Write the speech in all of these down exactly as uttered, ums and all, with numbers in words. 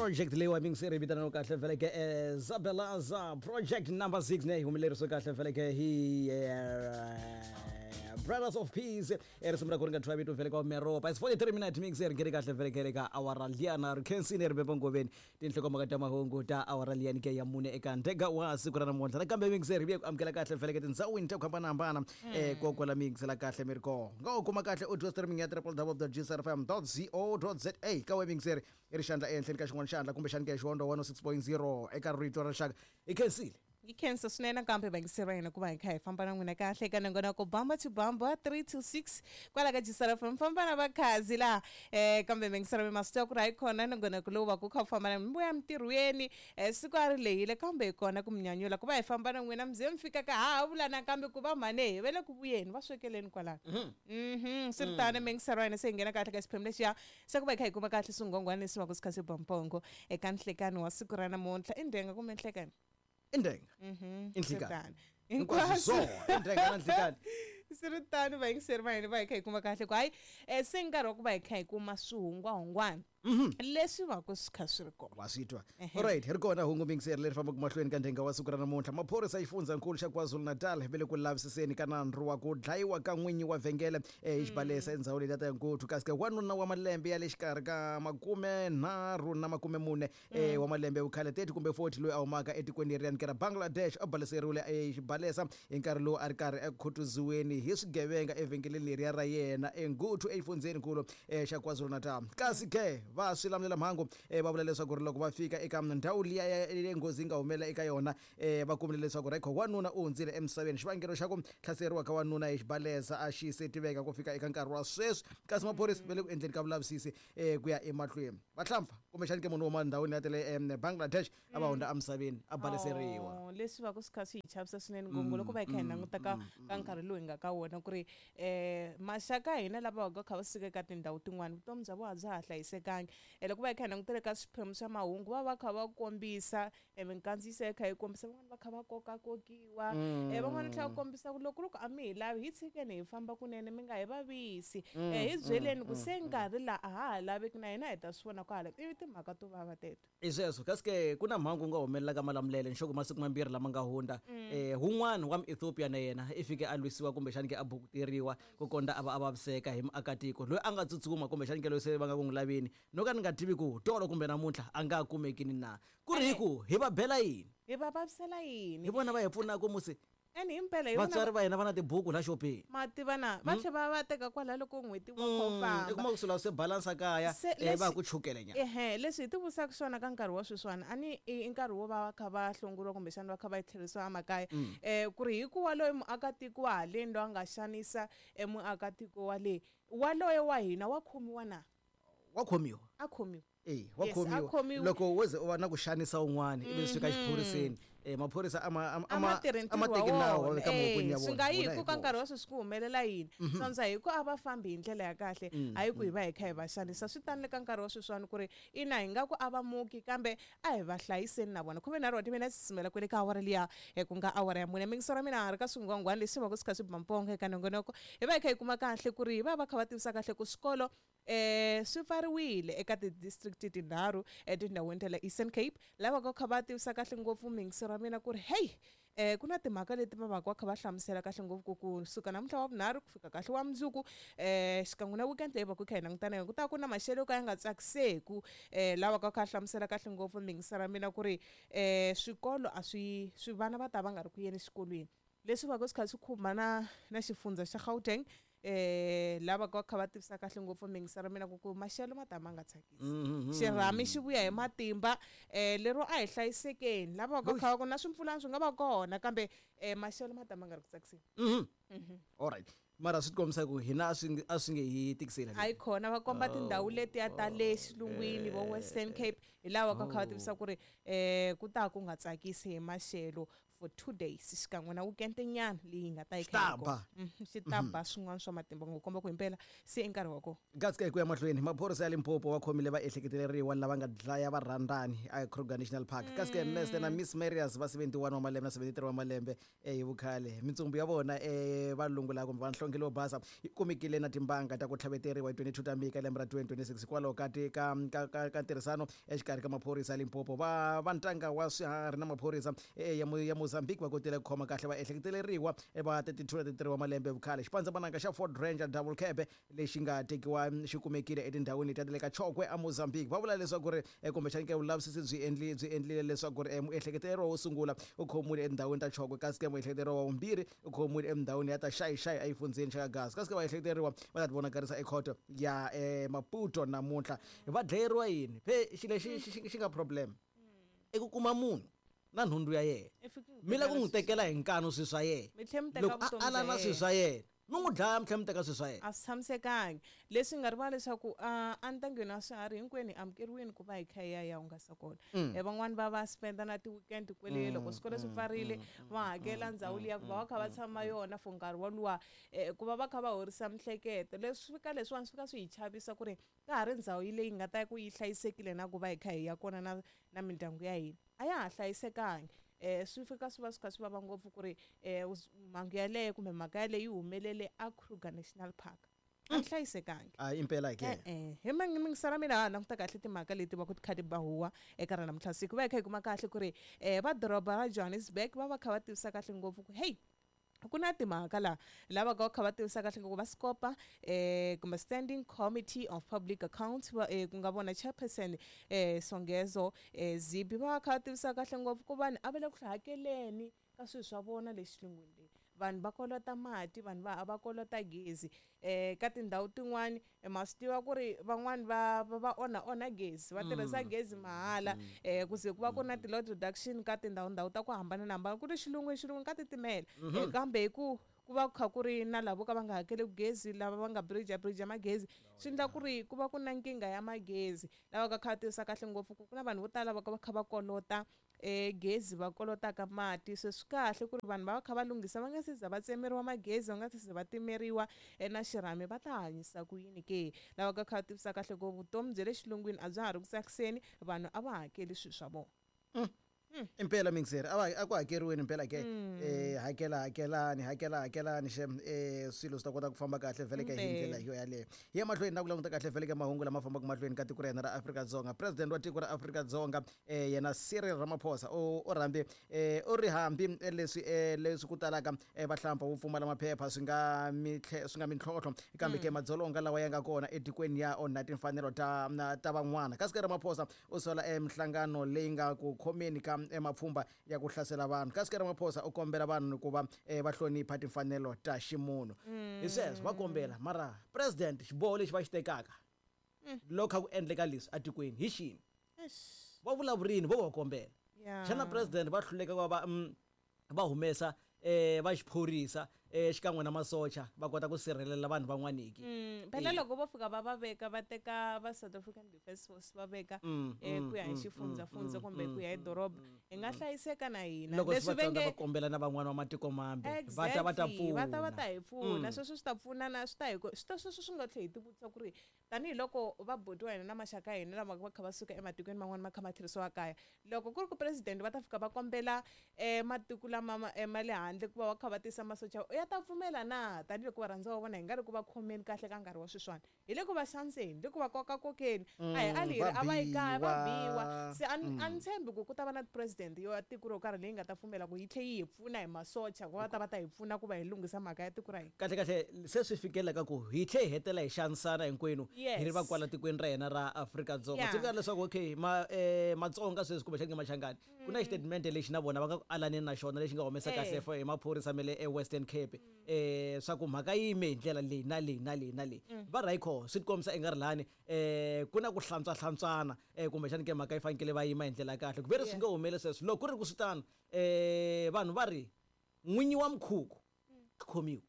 Project leyi wa mingiseri vitana kahle vheleke eh, Zabelaza project number six ne humelerisiwe kahle vheleke hi eh, Brothers of Peace e risimu ra ku ri nga thwa vito vheleke wa Meropa. It's forty-three minutes mixer ngeri kahle vheleke ka awara liyana ri khensini ri beba ngoveni tinhlokomhaka ta mahungu ta awara liyani ke ya mune eka ndega wa siku ra namuntlha. Nakambe mixer hi vuye ku amukela kahle vheleke tindhawini ta ku hambanahambana eh kokwala mixela kahle mi ri kona nga u kuma kahle audio streaming ya w w w dot g s r f m dot co dot z a ka we mixer i ri xandla ehenhleni ka xin'wana xandla kumbexani ke xihondo one oh six point zero eka rito ra rixaka i khensile. Yi khensa swinene kambe vayingiseri va hina ku va hi kha hi famba na n'wina kahle eka nongonoko Bamba to Bamba three to six kwala ka G S R F M famba na vakhazi laha eh kambe vayingiseri va ma swi tiva ku ri hayi kona nongonoko lowu va ku kha wu famba na mi vuya mintirhweni eh siku a ri lehile kambe hi kona ku mi nyanyula ku va hi famba na n'wina mi ze mi fika ka ha ha vula nakambe ku va mhane hi ve le ku vuyeni va swekeleni kwalano. Mhm swi ri tano vayingiseri va hina se hi nghena kahle ka xiphemu lexiya xa ku va hi kha hi kuma kahle swinghongwana leswi va ku swi kha swi ba mpongo eka nhlekani wa siku ra namuntlha. I ndhenga kumbe nhlekani? Indenga. Mhm. Inhlekani. Hinkwaswo. Indenga na nhlekani. Swi ri tano vayingiseri va hina va hi kha hi kuma kahle ku hayi eh se nkarhi wa ku va hi kha hi kuma swihungwahungwana leswi va ku swi kha swi ri kona. Wa swi twa. Alright, hi ri kona hungu mingiseri leri fambaka mahlweni ka ndhenga wa siku ra namuntlha. Maphorisa xifundzankulu xa KwaZulu-Natal va le ku lavisiseni ka nandzu wa ku dlayiwa ka n'winyi wa vhengele hi xibalesa endzhawini leyi ta Nkuthu. Kasi ke wanuna wa malembe ya le xikarhi ka makume nharhu na makume mune wa malembe ya vukhale thirty kumbe forty loyi a humaka etikweni leriyani ke ra Bangladesh a baleseriwile xibalesa hi nkarhi lowu a ri karhi ekhutuziweni hi swigevenga evhengeleni leriya ra yena eNguthu exifundzhenikulu xa KwaZulu-Natal. Kasi ke va swi lamulela mhangu va vula leswaku ri loko va fika eka ndhawu liya ya nghozi yi nga humelela eka yona va kumile leswaku ri wanuna u hundzile emisaveni. Xivangelo xa ku hlaseriwa ka wanuna hi xibalesa a xi se tiveka ku fika eka nkarhi wa sweswi, kasi maphorisa va le ku endleni ka vulavisisi ku ya emahlweni. Vahlampfa kumbexani ke munhu wo huma ndhawini ya ta le Bangladesh a va hundza emisaveni a baleseriwa. Leswi va ku swi kha swi hi chavisa swinene ngopfu loko va hi kha hi languta ka ka nkarhi lowu hi nga ka wona ku ri eh maxaka hina lava va kha va suka eka tindhawu tin'wana vutomi bya vona bya ha hlayisekangi. Loko va hi kha hi langutele ka swiphemu swa mahungu va va kha va kombisa minkandziyiso ya kha yi kombisa van'wana va kha va kokakokiwa eh van'wana tlhela va kombisa ku loko loko a mi hi lavi hi tshikeni hi famba kunene mi nga hi vavisi eh hi byeleni ku se nkarhi laha a ha ha laveki na hina hi ta swi vona kwala ivi timhaka to vava teto. I sweswo kasi ke ku na mhangu ku nga humelela ka Malamulele nxoko masiku mambirhi lama nga hundza eh wun'wana wa Ethiopia na yena i fike a lwisiwa kumbexani ke a bukuteriwa ku konda a va a vaviseka hi muakatiko loyi a nga tsutsuma kumbexani ke loyi se va nga ku n'wi laveni no ka ni nga tivi ku tolo kumbe namuntlha a nga kumeki ni na ku ri hi ku hi va bela yini hi va vavisela yini hi vona va hi pfunaka musi ene himpela hi vona vatswari va hina va na tibuku la xopeni ma tiva na va tlhe va va teka kwala loko n'hweti wa kha u famba i kuma ku sula se balansa kaya eh va ku chukele nyana ehe leswi hi tivusaka swona ka nkarhi wa sweswiwani a ni i nkarhi wo va va kha va hlongoriwa kumbexana va kha va tlherisiwa emakaya eh ku ri hikuva loyi muakatiko wa haleni loyi a nga xanisa emuakatiko wa le waloye wa hina wa khomiwa na wa khomiwa a khomiwa eh wa khomiwa loko wo ze u va na ku xanisa un'wana ivi swi fika xiphoriseni eh maphorisa ama ama ama teki nawu ka mavokweni ya vona swi nga yi ku ka nkarhi wa sweswi ku humelela yini sandza hi ku a va fambi hi ndlela ya kahle hayi ku hi va hi kha hi va xanisa. Swi tani le ka nkarhi wa sweswiwani ku ri ina hi nga ku a va muki kambe a hi va hlayiseni na vona. Khume nharhu wa timina sisumela kwele ka awara liya ku nga awara ya mune mingisero mina ha ri ka swingwangwani leswi va ku swi kha swi ba mpongo eka nongonoko hi va hi kha hi kuma kahle ku ri hi va va kha va tivisa kahle ku swikolo eh swi pfariwile eka ti-district tinharhu etindhawini ta le Eastern Cape lava ka kha va tivisa kahle ngopfu mingisero wa mina ku ri hey eh ku na timhaka leti va va ka kha va hlamusela kahle ngopfu ku kusuka namuntlha wa vunharhu ku fika kahle wa mundzuku eh xikan'we na weekend leyi va ku kha hi langutana yona ku ta ku na maxelo yo ka ya nga tsakiseku eh lava ka kha hlamusela kahle ngopfu mingisero wa mina ku ri eh swikolo a swi swi vana va ta va nga ri ku yeni exikolweni leswi va ku swi kha swi khumba na na xifundza xa Gauteng eh lava ka kha va tivisa kahle ngopfu mingisero mina ku ku maxelo ma ta ma nga tsakisi xirhami xi vuya hi matimba eh lero a hi hlayisekeni lava ka kha ku na swimpfulana swi nga va kona kambe eh maxelo ma ta ma nga ri ku tsakiseni. Mhm. All right. Mara swi kombisa ku hina a swi a swi nge hi tikiseli hayi khona va komba tindhawu letiya ta le xilungwini vo Western Cape hi lava ka kha va tivisa ku ri eh ku ta ku nga tsakisi hi maxelo for two days xikan'we na weekend nyana leyi nga ta yi Xi ta ba. xi ta ba swin'wana swa matimba ngo komba ku himpela se i nkarhi wa kona. Kasi ku ya mahlweni, maphorisa ya Limpopo va khomile vaehleketeleriwa lava nga dlaya varhandzani a Kruger National Park. Kasi ke Mister na Miss Marius va seventy-one wa malembe na seventy-three wa malembe eh, hi vukhale. Mintsumbu ya vona eh, valungu lava kumbe vanhlonge leyo basa yi kumekile na timbanga ta ku tlhaveteriwa hi twenty-two ta Mika lembe ra twenty twenty-six hikwalaho ka ti ka ka ka ka ntirhisano exikarhi ka maphorisa ya Limpopo. Va va ntanga wa swiharhi na maphorisa eh, ya ya Mozambique va kotile ku khoma kahle vaehleketeleriwa va thirty-two na thirty-three wa malembe vukhale. Xipandzamananga xa Ford Ranger Double Cab lexi nga tekiwa xi kumekile etindhawini leti ta le ka Chokwe a Mozambique. Va vula leswaku ri kumbexani ke vulavisisi byi endli byi endlile leswaku ri muehleketeleriwa wo sungula u khomiwile etindhawini ta Chokwe, kasi ke muehleketeleriwa wa vumbirhi u khomiwile endhawini ya ta Xayi-Xayi exifundzheni xa Gaza. Kasi ke vaehleketeleriwa va ta tivonakarisa ekhoto ya Maputo namuntlha. Va dlayeriwa yini? Phe xilo lexi xi xi nga problem i ku kuma munhu na nhundzu ya yena, mi lava ku n'wi tekela hi nkanu swilo swa yena, loko a ala na swilo swa yena mi n'wi dlaya mi tlhela mi teka swilo swa yena. A swi tshamisekangi. Leswi nga rivala leswaku a ntangeni wa swiharhi hinkwenu hi amukeriwile ku va hi kha hi ya hi ya hungasa kona. Van'wani va va spend na ti-weekend kwale loko swikolo swi pfarile va hakela ndhawu liya ku va va kha va tshama yona for nkarhi woluwa ku va va kha va horisa miehleketo. Leswi fika leswiwani swi fika swi hi chavisa ku ri ka ha ri ndhawu leyi nga ta ku yi hlayisekile na ku va hi kha hi ya kona na na mindyangu ya hina a ya ha hlayisekangi. Eh swi fika swi va swi kha swi vava ngopfu ku ri eh mhangu yaleyo kumbe mhaka yaleyo yi humelele a Kruger National Park. A hlayisekangi. A impela ke. Eh hi mingisela mina ha languta kahle timhaka leti va ku ti kha ti ba huwa eka ra namuntlha siku va hi kha hi kuma kahle ku ri eh va doroba ra Johannesburg va va kha va tivisa kahle ngopfu ku hey ku na timhaka la lava ka kha va tivisa kahle ngopfu va scopa eh kumbe Standing Committee of Public Accounts va ku nga vona chairperson eh Songezo eh Zibi va kha va tivisa kahle ngopfu ku vanhu a va le ku hakeleni ka swilo swa vona le xilungwini leyi. Vanhu va kolota mati, vanhu va va kolota gezi eh ka tindhawu tin'wani ma swi tiva ku ri van'wani va va onha onha gezi va tirhisa gezi mahala eh ku ze ku va ku na ti-load reduction ka tindhawu ndhawu ta ku hambanahambana ku ri xilungwini xilungwini ka titimela kambe hi ku ku va kha ku ri na lavo ka va nga hakeli gezi lava va nga bridge bridge magezi swi endla ku ri ku va ku na nkingha ya magezi lava ka kha tivisa kahle ngopfu ku na vanhu vo tala va ka va kha va kolota eh gezi va kolotaka mati. Se swi kahle ku ri vanhu va va kha va lunghisa va nga se za va tsemeriwa magezi va nga se za va timeriwa na xirhami va ta hanyisa ku yini ke. Lava ka kha tivisa kahle ku vutomi bya le xilungwini a bya ha ri ku tsakiseni vanhu a va hakeli swilo swa vona. Impela mingiseri a va a ku hakeriweni impela ke eh hakela hakelani hakela hakelani xem eh swilo swi ta kota ku famba kahle vhele ka hi ndlela yo yaleyo. Hi ya mahlweni na ku languta kahle vhele ka mahungu lama fambaka mahlweni ka tiko ra hina ra Afrika-Dzonga. President wa tiko ra Afrika-Dzonga eh yena Cyril Ramaphosa u u rhambi eh u ri hambi leswi leswi ku talaka vahlampfa vo pfumala maphepha swi nga swi nga mintlhontlho kambe ke madzolonga lawa ya nga kona etikweni ya onha timfanelo ta ta van'wana. Kasi ke Ramaphosa u sola emihlangano leyi nga ku khomeni ka mapfhumba ya ku hlasela vanhu. Kasi ke Ramaphosa u kombela vanhu ku va va hlonipha timfanelo ta ximunhu. Hi sweswo va kombela mara president xiboho lexi va xi tekaka loko kha ku endleka leswi etikweni hi xini va vulavurini vo va kombela. Xana president va hluleka ku va va humesa eh va xiphorisa eh xikan'we na masocha va kota ku sirhelela vanhu van'waniki. Phela loko vo fika va va veka va teka va South African Defence Force va veka eh ku ya hi xifundzafundza kumbe ku ya hi doroba hi nga hlayiseka na hina. Leswi va nge va kombela na van'wana va matiko mambe va ta va ta pfuna va ta va ta hi pfuna. Sweswo swi ta pfuna na swi ta hi swi ta sweswo swi nga tlhela hi tivutisa ku ri tanihiloko va buti wa hina na maxaka ya hina lama va kha va suka ematikweni man'wana ma kha ma tlherisiwa kaya loko ku ri ku president va ta fika va kombela eh matiko lama ma le handle ku va va kha va tisa masocha ya ta pfumela na tanihiloko varhandziwa va vona hi nga ri ku va khomeni kahle ka nkarhi wa sweswiwani hi le ku va xaniseni le ku va kokakokeni a hi ali hi ri a va yi kaya va biwa. Se a ni tshembi ku ku ta va na president yo ya tiko ro karhi leyi nga ta pfumela ku yi tlhe yi hi pfuna hi masocha ku va ta va ta hi pfuna ku va hi lunghisa mhaka ya tiko ra hina. Kahle kahle se swi fikeleka ku hi tlhe hi hetela hi xanisana hinkwenu hi ri va kwala tikweni ra hina ra Afrika-Dzonga. Tsundzuka leswaku okay ma Matsonga sweswi kumbexani ke Machangani ku na xitatimende lexi na vona va nga ku alaneni na xona lexi nga humesa kahle for hi maphorisa ma le eWestern Cape eh swa ku mhaka yime hi ndlela leyi na leyi na leyi na leyi va rayikho swi tikombisa i nga ri lani eh ku na ku hlantswa hlantswana eh kumbexani ke mhaka yi fanekele va yima hi ndlela ya kahle ku ve ri swi nga humeli sweswo loko ku ri ku swi tano eh vanhu va ri n'winyi wa mukhuku a khomiwa.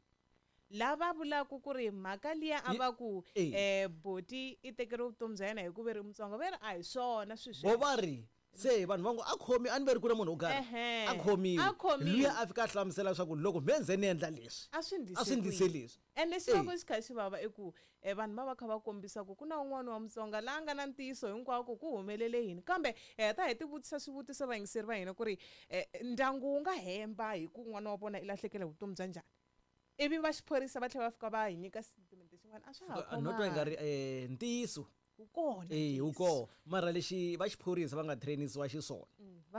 Lava vulaka ku ri mhaka liya a va ku eh boti i tekeriwe vutomi bya yena hi ku ve ri Mutsonga va ri a hi swona sweswo vo va ri Se vanhu va ngo a khomi a ni ve ri ku na munhu wo karhi a khomiwe luya a fika a hlamusela leswaku loko me nze ni endla leswi a swi a swi ndlise leswi. Ende lexi va ku xi kha xi vava i ku vanhu va va kha va kombisa ku ku na un'wana wa Mutsonga laha nga na ntiyiso hinkwako ku humelele yini, kambe hi heta hi tivutisa swivutiso vayingiseri va hina ku ri ndyangu wu nga hemba hi ku n'wana wa vona i lahlekele hi vutomi bya njhani, ivi va xiphorisa va tlhela va fika va hi nyika statement xin'wana a swa ha no twa i nga ri ntiyiso wu kona eh wu kona mara lexi va xiphorisa va nga trainisiwa xiswona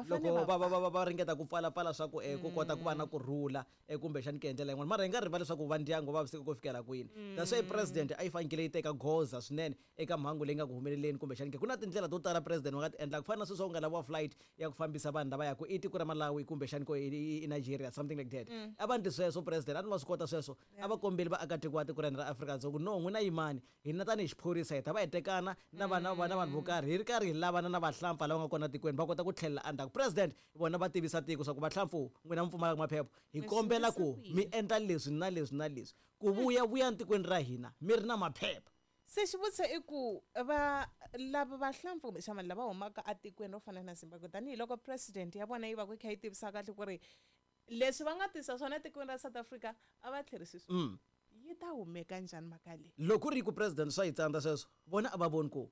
loko va va va ringeta ku pfalapfala swa ku ku kota ku va na kurhula kumbexani ku endlela yin'wana, mara hi nga rivali leswaku va ndyangu va vaviseka ku fikela kwini. That's why president a yi fanekele yi teka goza swinene eka mhangu leyi nga ku humeleleni kumbexani ke ku na tindlela to tala president wa nga ti endla ku fana na sweswi ku nga laviwa flight ya ku fambisa vanhu lava yaka i tiko ra Malawi kumbexani ko i Nigeria something like that. A va ndli sweswo president a ni va swi kota sweswo, a va kombeli vaakatiko va tiko ra hina ra Afrika-Dzonga no n'wina yimani hina tanihi xiphorisa hi ta va hi tekana na vana va na vanhu vo karhi hi ri karhi hi lavana na vahlampfa lava nga kona tikweni va kota ku tlhelela endzhaku. President vona va tivisa tiko swa ku vahlampfu n'wina mi pfumalaka maphepha hi kombela ku mi endla leswi na leswi na leswi ku vuya vuya tikweni ra hina mi ri na maphepha. Se xivutiso i ku va lava vahlampfa kumbexana lava humaka etikweni ro fana na Zimbabwe tanihiloko president ya vona yi va ku yi kha yi tivisa kahle ku ri leswi va nga tisa swona etikweni ra South Africa a va tlherisi swona, yi ta humeka njhani mhaka leyi? Loko ku ri ku president swa yi tsandza sweswo vona a va voni ku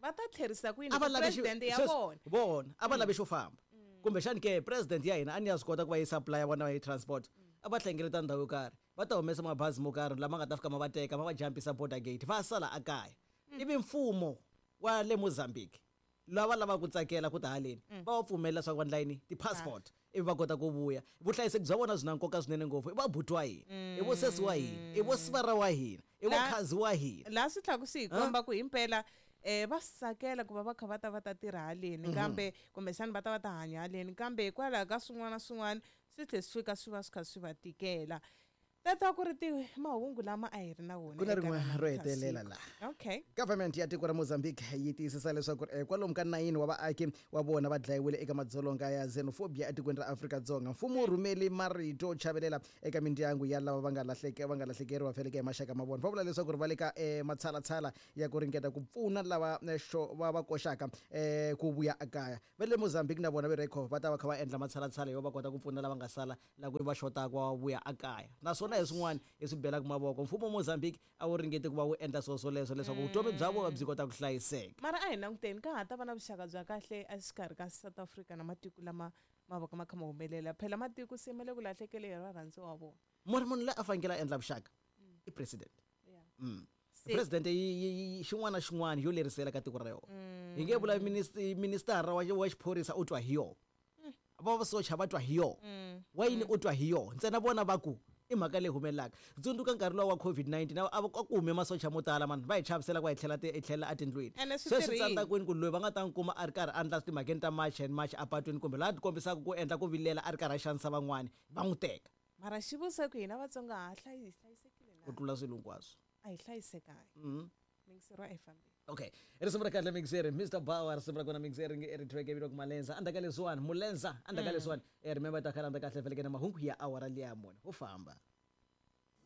va ta tlherisa kwini president ya vona vona a va lavi xo famba kumbexani ke president ya hina a ni ya swi kota ku va yi supply ya vona hi transport a va hlengeleta ndhawu yo karhi va ta humesa mabazi mo karhi lama nga ta fika ma va teka ma va jampisa border gate va sala ekaya. Ivi mfumo wa le Mozambique lava lavaka ku tsakela ku ta haleni va va pfumelela leswaku va endla yini ti-passport ivi va kota ku vuya. Vuhlayiseki bya vona byi na nkoka swinene ngopfu, i vabuti wa hina, i vosesi wa hina, i vosivara wa hina, i vokhazi wa hina. Laha swi tlhela swi hi komba ku himpela eh va swi tsakela ku va va kha va ta va ta tirha haleni kambe kumbexana va ta va ta hanya haleni, kambe hikwalaho ka swin'wana na swin'wana swi tlhe swi fika swi va swi kha swi va tikela. Tata ku ri ti mahungu lama a hi ri na wona ku na rin'we ro hetelela laha. Okay, government ya tiko ra Mozambique yi tiyisisa leswaku kwalomu ka nine wa vaaki wa vona va dlayiwile eka madzolonga ya xenophobia etikweni ra Afrika-Dzonga. Mfumo wu rhumeli marito yo chavelela eka mindyangu ya lava va nga lahleke va nga lahlekeriwa feleke hi maxaka ma vona. Va vula leswaku ri va le ka matshalatshala ya ku ringeta ku pfuna lava va va koxaka ku vuya ekaya. Va le Mozambique na vona ve rekho va ta va kha va endla matshalatshala yo va kota ku pfuna lava nga sala la ku va xotaka va vuya ekaya. Naswona hi swin'wana hi swi belaka mavoko mfumo wa Mozambique a wu ringeti ku va wu endla swilo swoleswo leswaku vutomi bya vona byi kota ku hlayiseka. Mara a hi languteni ka ha ta va na vuxaka bya kahle exikarhi ka South Africa na matiko lama ma va ka ma kha ma humelela, phela matiko se ma le ku lahlekele hi varhandzi wa vona. Munhu munhu loyi a fanekele a endla vuxaka i president. President yi xin'wana na xin'wana yo lerisela ka tiko ra yona. Hi nge vula minister wa wa xiphorisa u twa hi yona, va vasocha va twa hi yona, wa yini u twa hi yona, ntsena vona va ku i mhaka leyi humelelaka. Tsundzuka nkarhi luwa wa COVID nineteen a va ku hume masocha mo tala mani va hi chavisela ku va hi tlhela hi tlhela etindlwini. Sweswi tsandza kwini ku loyi va nga ta n'wi kuma a ri karhi a endla timhakeni ta march and march apatwini kumbe laha ti kombisaka ku endla ku vilela a ri karhi a xanisa van'wani va n'wi teka. Mara xivutiso ku hina Vatsonga ha hlayisekile na ku tlula swilo hinkwaswo a hi hlayisekangi. Mixero a hi fambeni. Okay, risimu ra kahle mixeri Mister Bauer risimu ra kona mixeri nge ri track vito ku Malenza andaka leswiwani Mulenza andaka leswiwani. Remember ta khala andaka kahle feleke na mahungu ya awara liya mune ho famba.